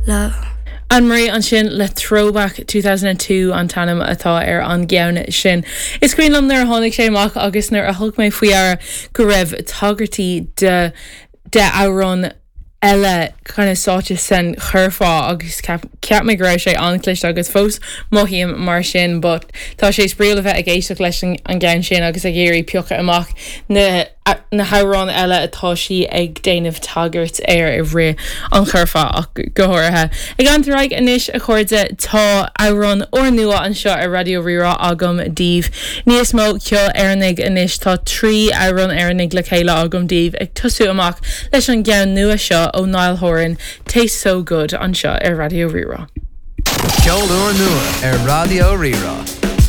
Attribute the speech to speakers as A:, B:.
A: Love.
B: Anne-Marie ansin le Throwback 2002 an t-ainm atá ar an gceann sin. Is cuimhin liom nuair a tháinig sé amach agus nuair a thug mé faoi deara go raibh tagairtí de de amhráin eile kind of sáite san churfá agus cheap mé go raibh sé an-chliste agus fós mothaím mar sin but tá sé spraíúil a bheith ag éisteacht leis an gceann sin agus ag iarraidh piocadh amach na na hamhráin eile atá sí ag déanamh tagairt air i rith an churfá ach go háirithe. Ag leanacht ar aghaidh anois a chairde tá amhrán úrnua anseo ar Raidió Rí-Rá agam daoibh. Níos mó ceoil Éireannaigh anois, tá 3 amhrán Éireannaigh le chéile agam daoibh ag tosú amach leis an gceann nua seo ó Niall Horan, Tastes So Good anseo ar Raidió Rí-Rá.
C: Ceol úrnua ar Raidió Rí-Rá.